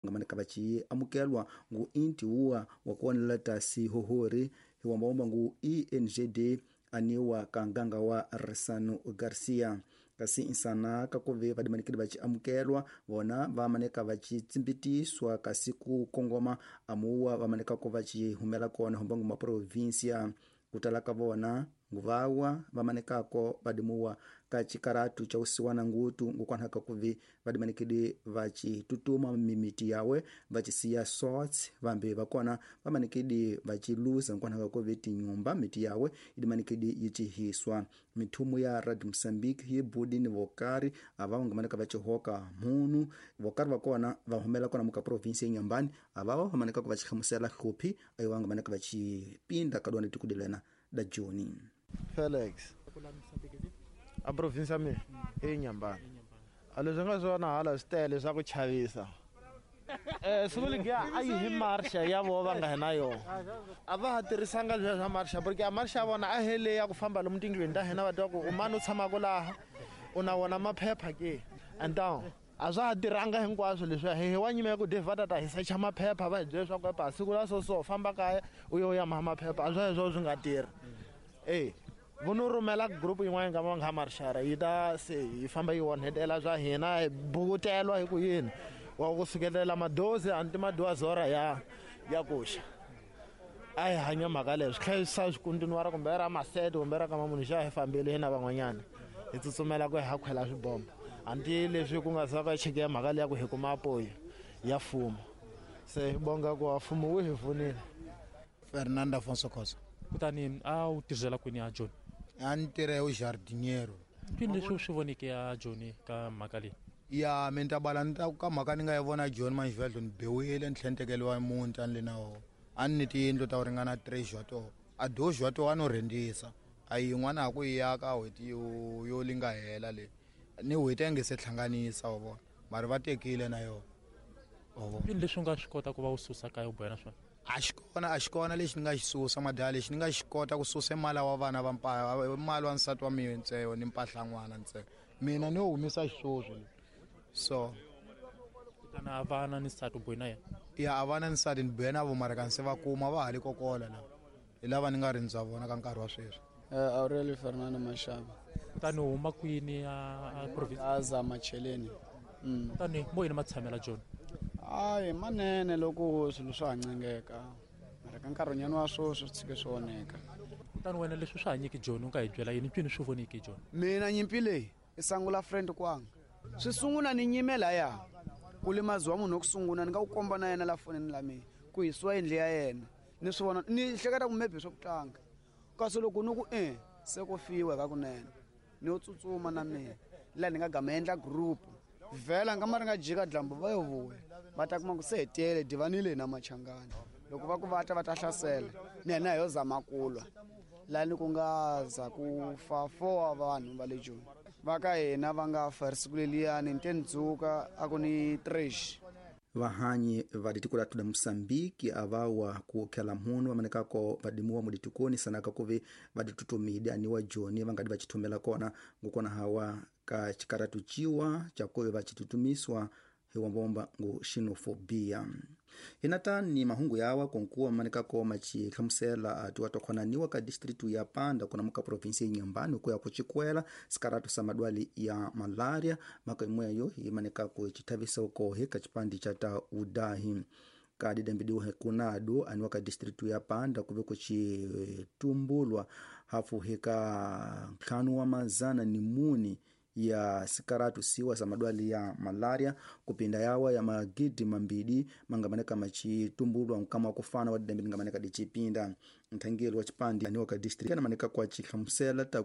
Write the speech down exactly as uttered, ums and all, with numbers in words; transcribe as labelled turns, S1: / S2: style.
S1: Nga maneka va ci amukelwa ngu inti wuwa wa kuonela tasi hohori hiwambawomba ngu E N G D aniwa ka nganga wa Resano Garcia. Kasi insana kakuve vadimanikidi va ci amukelwa vona va maneka va ci tsimbitiswa kasi ku kongoma amuwa va maneka ku va ci humela kona hombangu ma provincia. Kutala ka vona nguvawa va manekako vadimuwa ka cikaratu ca usiwana ngutu ngukwanhaka kuvi vadimanikidi va ci tutuma mimiti yawe va ci siya sots vambi vakona va manikidi va ci luza ngukwanhaka kuvi tinyumba miti yawe idimanikidi yi cihiswa. Mithumu ya Radio Mozambique yi budi ni vokari ava vangamaneka va ci hoka munu vokari vakona va humela kona muka provinsi ya Inhambane avava va manekako va ci hlamusela hluphi ayo vangamaneka va ci pinda kadwana tikudilena da Joni.
S2: Felix a province mi e Inhambane a leswi nga swona hala swi tele swa ku chavisa. Eh swi le a yi hi marsha ya vo va nga hina yo a va ha tirhisanga leswi swa marsha porque a marsha vona a hele ya ku famba lomu tindlwini ta hina va twa ku u mani u tshamaka laha u na wona maphepha ke and down a swa ha tirhanga hinkwaswo leswi hi wa nyima ya ku de va ta ta hi secha maphepha va hi byela leswaku epa siku la so so famba kaya u yo ya ma maphepha a swa sweswo swi nga tirhi. Eh vono rhumela group yin'wana nga va nga marshara yi ta se yi famba yi onhetela swa hina hi bukutelwa hi ku yini wa ku sukelela madozi anti madozi ya ya kuxa a hi hanya mhaka leyo swi hlayisa swikuntinuwara kumbe ra masete kumbe ra ka mamunhu xa hi fambile hina van'wanyana hi tsutsumela ku hi ha khwela swibombo anti leswi ku nga za va cheke ya mhaka leya ku hi kuma apoyo ya mfumo se bonga ku wa mfumo wu hi pfunile.
S3: Fernando Afonso Khosa.
S4: Kutani a wu tirhela kwini ya John?
S3: A ni tirha u jardiniero.
S4: Kwini leswi swi voneke ya John ka mhaka leyi?
S3: Ya mi ta bala ni ta ka mhaka ni nga yi vona John Manjivelo ni bewile ni tlhentekeliwa muti a ni le na wona. A ni ni tiyindlu ta ku ringana three to a dojo to a no rhendisa a yin'wana a ku yi aka n'hweti yo yo linga hela le ni n'hweti a nge se hlanganisa wa vona mara va tekile na yona wa vona.
S4: Kwini leswi u nga swi kota ku va u susa kaya u boya na swona?
S3: A xi kona a xi kona lexi ni nga xi susa madala lexi ni nga xi kota ku susa mali wa vana va mpa mali wa nsati wa mina ntsena ni mpahla n'wana ntsena mina ni humisa xiswoswo so
S4: kutani a vana ni nsati u boya na yena?
S3: Ya a vana ni nsati ni boya na vo mara kanse va kuma va ha le kokola la hi lava ni nga rindza vona ka nkarhi wa sweswi.
S5: Aurelio Fernando Mashaba.
S4: Kutani u huma kwini a province?
S5: A za Macheleni.
S4: Kutani mo yini matshamela John?
S5: Hayi manene loko swilo swa hancengeka mara ka nkarhinyana wa sweswi swi tshike swi onheka.
S4: Kutani wena leswi swi hanyiki John u nga hi byela yini mpfini swi voniki John?
S5: Mina nyimpi leyi i sangula friend kwanga swi sungula ni nyime laya ku limaziwa munhu wa ku sungula ni nga ku komba na yena la fonini la mina ku hisiwa yindlu ya yena ni swi vona ni hleketa ku maybe swa ku tlanga kasi loko ni ku e se ku fiwa ka kunene ni yo tsutsuma na mina laha ni nga gama endla group vhela nga ma ri nga jika dlambu va yo vuya va ta kuma ku se hetele divanile na machangani loko va ku va ta va ta hlasela ni yena hi yo zama ku lwa laha ni ku nga za ku fa four wa vanhu va le Joni va ka hina va nga fa siku leliyani ni te ni dzuka a ku ni trash.
S1: Vahanyi va ditiko la tuda Mosambiki avawa ku khela mhunu vamanekako vadimuwa muditikoni sanaka kuve vaditutumide aniwa Joni vangadi vachithumela kona ngukona hawa ka chikaratu chiwa chakuve vachitutumiswa hiwambomba ngu xenofobia. Hinata ni mahungu yawa konkuwa manekako machihlamusela atiwa tokhonaniwa ka distritu ya Panda kuna muka provinsi ya Inhambane kuya kuchikwela sikaratu sa madwali ya malaria maka imweyo imanekako chithavisa ukohe ka chipandi cha ta udahi kadi dambidiwa hekunadu aniwa ka distritu ya Panda kuve kuchitumbulwa hafu heka ntlhanu wa mazana ni muni ya sikaratu siwa sa madwali ya malaria kupinda yawa ya magidi mambidi mangamaneka machitumbulwa nkama kufana wa didambi ngamaneka dichipinda nthangeli wa chipandi aniwa ka district anamaneka kwa chihlamusela ta